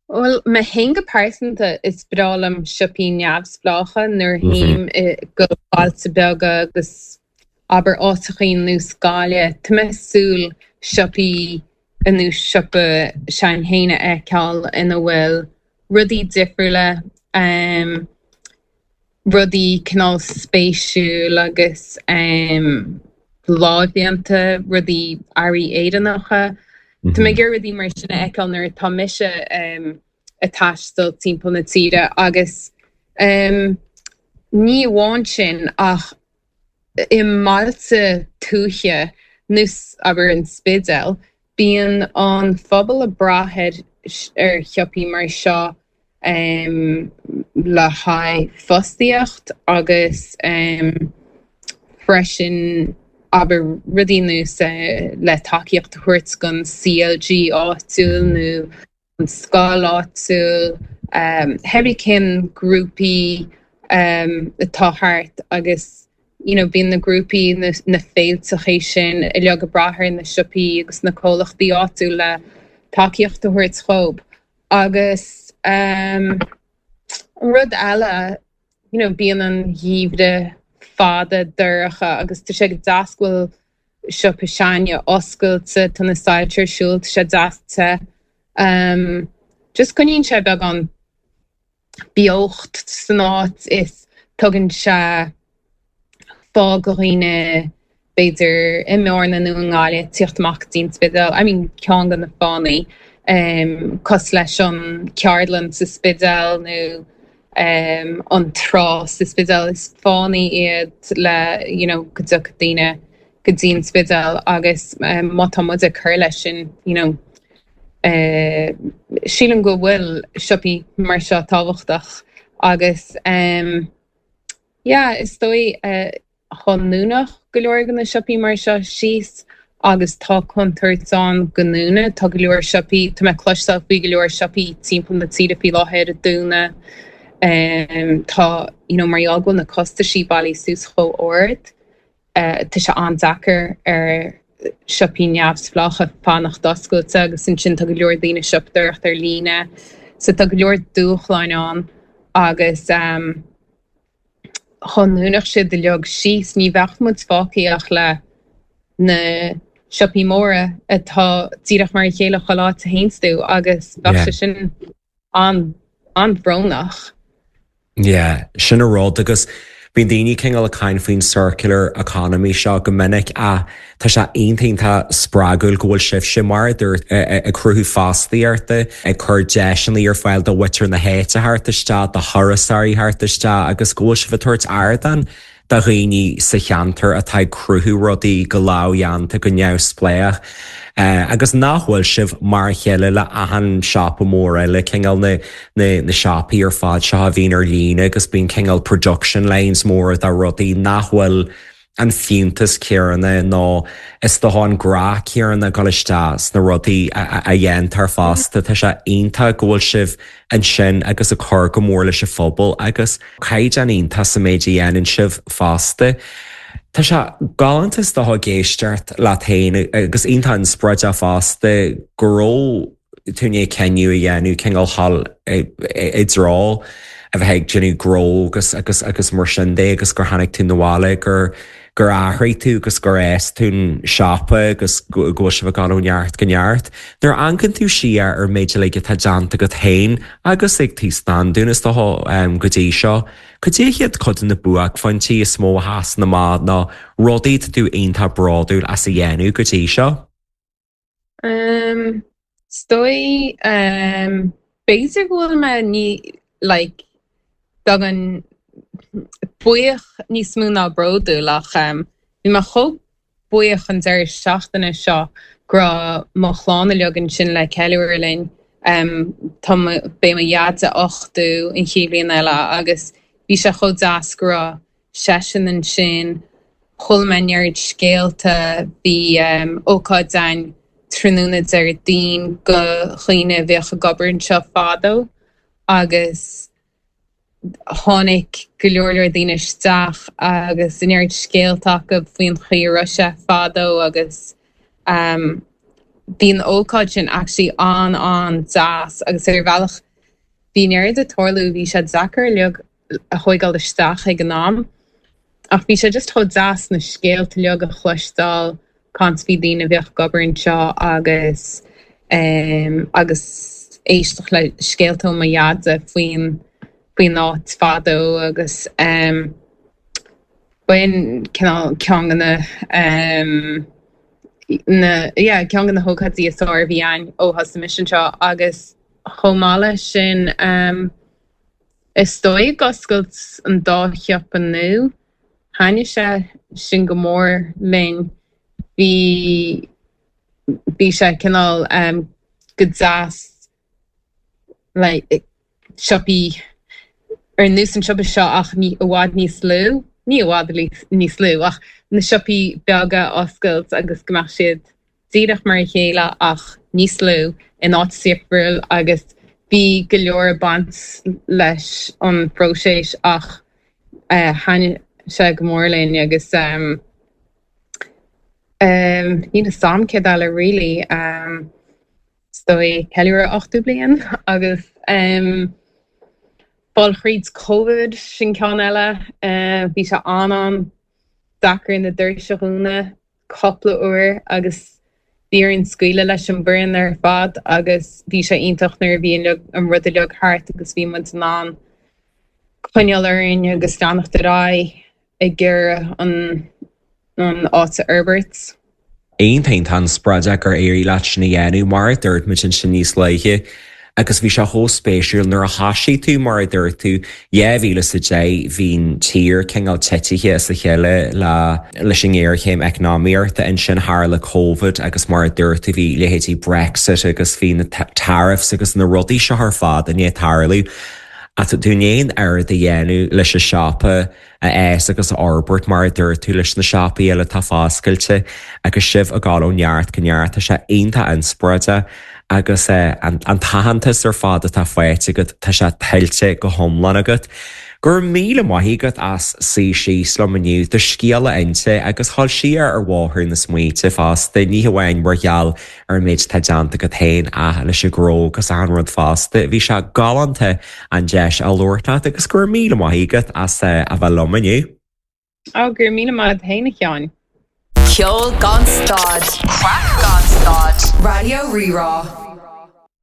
Well mé féin go pearsanta is breá liom siopaí neamhspleácha nuair a théim go bailte beaga agus abair áiteachaí ar nós Gaillimh. Tá mé ag súil siopaí ar nós siopa s'againn féin a fheiceáil ina bhfuil rudaí difriúla um, rudaí cineál spéisiúil agus um, lámhdhéanta rudaí earraí Éireannacha. Tá mé ag iarraidh rudaí mar sin a fheiceáil nuair atá mise um, ag taisteal timpeall na tíre agus um, ní amháin sin ach i mbailte tuaithe ar nós abair an Spidéal, bíonn an phobal ag brath ar ar shiopaí mar seo um, le haghaidh fostaíocht agus um, freisin abair rudaí ar nós uh, le tacaíocht a thabhairt don CLG áitiúil nó an scoil áitiúil um, hebí cén grúpaí um, atá thart agus you know, bíonn na grúpaí na, na féilteacha sin uilig ag brath ar na siopaí agus na comhlachtaí áitiúla le tacaíocht a thabhairt dóibh. Agus um, rud eile you know, bíonn an geimhreadh fada dorcha agus tá sé go deas go bhfuil siopa s'againne oscailte tá na soilse ar siúl tá sé deas te. Um, just coinníonn sé beagán beocht san áit is tugann sé fáth do dhaoine b'fhéidir i mBearna nó i nGaillimh tíocht amach go dtí an Spidéal, I mean ceann de na fáthanna um, cosúil leis an ceardlann sa Spidéal nó um, an trá sa Spidéal is fáthanna iad le you know, go dtiocfadh daoine go dtí an Spidéal agus um, má tá muid ag cur leis sin you know, uh, sílim go bhfuil siopaí mar seo tábhachtach agus um, yeah, is dóigh uh, chun dúnadh go leor de na siopaí mar seo síos agus tá contúirt ann go ndúnfaidh tá go leor siopaí Tá mé ag cloisteáil faoi go leor siopaí timpeall na tíre faoi láthair ag dúnadh um, tá you know, mar gheall go bhfuil na costaisí bailithe suas chomh ard uh, tá sé an-deacair ar siopaí neamhspleácha fanacht oscailte agus ansin tá go leor daoine ag siopadóireacht ar líne so tá go leor dúshláin ann agus um, chun dúnadh siad uilig síos ní bheadh muid fágtha ach le na siopaí móra atá díreach mar a chéile chuile áit a théann tú agus bheadh Yeah. sé sin an an-bhrónach. Yeah, sin an rud agus bíonn daoine cineál ag caint faoin circular economy seo go minic a tá sé iontach spreagúil go bhfuil sibhse mar dúirt ag cruthú fostaíochta ag cur deiseanna ar fáil do mhuintir na háite theacht isteach do thurasóirí theacht isteach agus go bhfuil sibh ag tabhairt ardán do dhaoine sa cheantar atá ag cruthú rudaí go lámhdhéanta go neamhspleách. Uh, agus nach bhfuil sibh mar a chéile le achan siopa mór eile cineál na, na, na siopaí ar fad seo a bhíonn ar líne agus bíonn cineál production lines mór de rudaí nach bhfuil an fiúntas céanna nó is dócha an grá céanna ag dul isteach sna rudaí a, a, a dhéantar fosta Tá sé iontach go bhfuil sibh ansin agus ag cur go mór leis an phobal agus caighdeán iontach sa méid a dhéanann sibh fosta. Tá sé galánta is dócha ag éisteacht leat féin agus iontach inspioráideach fosta go raibh tú i ndiaidh cinneadh a dhéanamh cineál dul i dtreo a bheith ag déanamh gnó agus agus agus mar sin de agus gur tháinig tú abhaile gur gur athraigh tú agus gur fhás tú an siopa agus go bhfuil sibh ag dul ó neart go neart. Nuair a amharcann tú siar ar an méid uilig atá déanta agat féin agus ag Tí Standún is dócha go dtí seo, cad é iad cuid de na buaicphointí is mó a sheasann amach nó rudaí atá tú iontach bródúil as a dhéanamh go dtí seo? Um, is dóigh um, b'fhéidir go bhfuil mé ní like beagán buíoch níos mó ná bródúil ach um, bhí mé chomh buíoch an deireadh seachtaine seo go raibh mo chlann uilig ansin le ceiliúradh linn. Um, tá beidh mo dhaid ochtó an chéad bhliain eile agus bhí sé chomh deas go raibh seisean ansin, chuala mé neart scéalta, bhí um, ócáid ann tráthnóna Déardaoin do dhaoine a bhíodh ag obair anseo fadó agus tháinig go leor leor daoine isteach agus neart scéalta acu faoin chaoi a raibh sé fadó agus um, bhí an ócáid sin actually an an-deas agus ar bhealach bhí neart ag tarlú bhí sé deacair uilig a thógáil isteach ag an am ach bhí sé just chomh deas na scéalta uilig a chloisteáil caint faoi daoine a bhíodh ag obair anseo agus um, agus éisteacht le scéalta ó mo dhaid faoin faoin áit fadó agus um, b'in cineál ceann de na um, na yeah, ceann de na hócáidí is fearr a bhí ann ó thosaigh mise anseo agus chomh maith leis sin um, is dóigh ag oscailt an dá shiopa nua thaitnigh sé sin go mór linn bhí bhí sé cineál um, go deas like, siopaí ar nós an siopa seo ach ní i bhfad níos lú, ní i bhfad níos lú ach na siopaí beaga oscailt agus go mbeadh siad díreach mar a chéile ach níos lú in áit difriúil agus bhí go leor ag baint leis an phróiseas ach uh, thaitnigh sé go mór linn agus um, um, níl a fhios agam céard eile really um, is dóigh ceiliúradh ochtó bliain agus um, fáil thríd COVID sin ceann eile uh, bhí sé an-an-deacair na doirse a dhúnadh cúpla uair agus bhí orainn scaoileadh leis an bhfoireann ar fad agus bhí sé iontach nuair a bhí an rud uilig thart agus bhí muid in ann coinneáil orainn agus leanacht ar aghaidh ag iarraidh an an áit a fhorbairt. Iontach an-inspioráideach gur éirigh leat sin a dhéanamh mar a dúirt muid ansin níos luaithe agus bhí sé chomh spéisiúil nuair a thosaigh tú mar a dúirt tú dhá mhíle is a deich bhí an tír cineál titithe as a chéile le leis an ngéarchéim eacnamaíochta ansin tharla COVID agus mar a dúirt tú bhí leithéidí Brexit agus bhí na tariffs agus na rudaí seo ar fad i ndiaidh tarlú. Ach tú in ann oiread a dhéanamh leis an siopa a fhás agus a fhorbairt mar a dúirt tú leis na siopaí eile atá foscailte agus sibh ag dul ó neart go neart tá sé iontach inspioráideach agus eh, an, an t-aitheantas ar fad atá faighte agat tá sé tuillte go hiomlán agat. Gur míle maith agat as suí síos liom inniu do scéal a inse agus dul siar ar bhóthar na smaointe fosta ní hamháin mar gheall ar an méid atá déanta agat féin ach leis an ghnó agus an rud fosta. Bhí sé galánta an deis a labhairt leat agus gur míle maith agat as eh, a bheith liom inniu. Á gur míle maith féin a Sheáin. Ceol gan stad. Craic gan stad. Raidió Rí-Rá.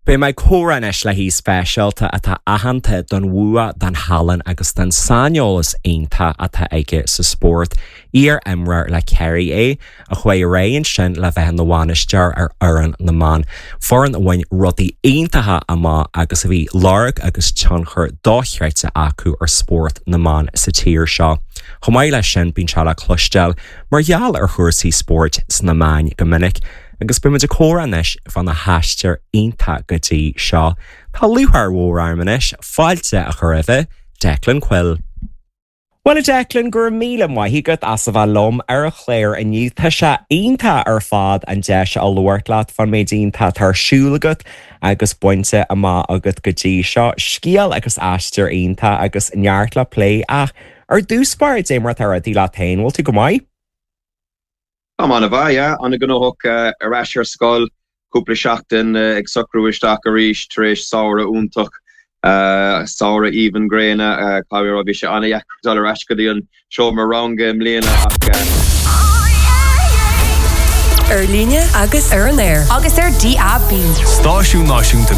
Beidh mé ag comhrá anois le haoi speisialta atá aitheanta don bhua, don thallann agus don saineolas iontach atá aige sa spórt. Iar-imreoir le Kerry é, a chuaigh ar aghaidh ansin le bheith ina bhainisteoir ar fhoireann na mban. Foireann a bhain rudaí iontacha amach agus a bhí lorg agus tionchar dochreidte acu ar spórt na mban sa tír seo. Chomh maith leis sin bíonn sé le cloisteáil mar gheall ar chúrsaí spóirt sna meáin go minic. agus beimid ag comhrá anois faoina haistear iontach go dtí seo. Tá lúcháir mhór orm anois fáilte a chur roimh Declan Quill. Well a Declan gur míle maith agat as a bheith liom ar an chlár inniu Tá sé iontach ar fad an deis a labhairt leat faoin méid iontach atá ar siúl agat agus bainte amach agat go dtí seo scéal agus aistear iontach agus neart le plé ach ar dtús báire cad é mar atá rudaí leat féin, bhfuil tú go maith? Tá an-mhaith yeah, an-ghnóthach uh, ar ais ar scoil cúpla seachtain uh, ag socrú isteach arís tar éis samhradh iontach Uh, Samhradh aoibhinn gréine uh, cá bhí sé an-deacair dul ar ais go dtí an seomra ranga i mbliana ach uh, Ar líne agus ar an aer. Agus ar DAB. Stáisiún náisiúnta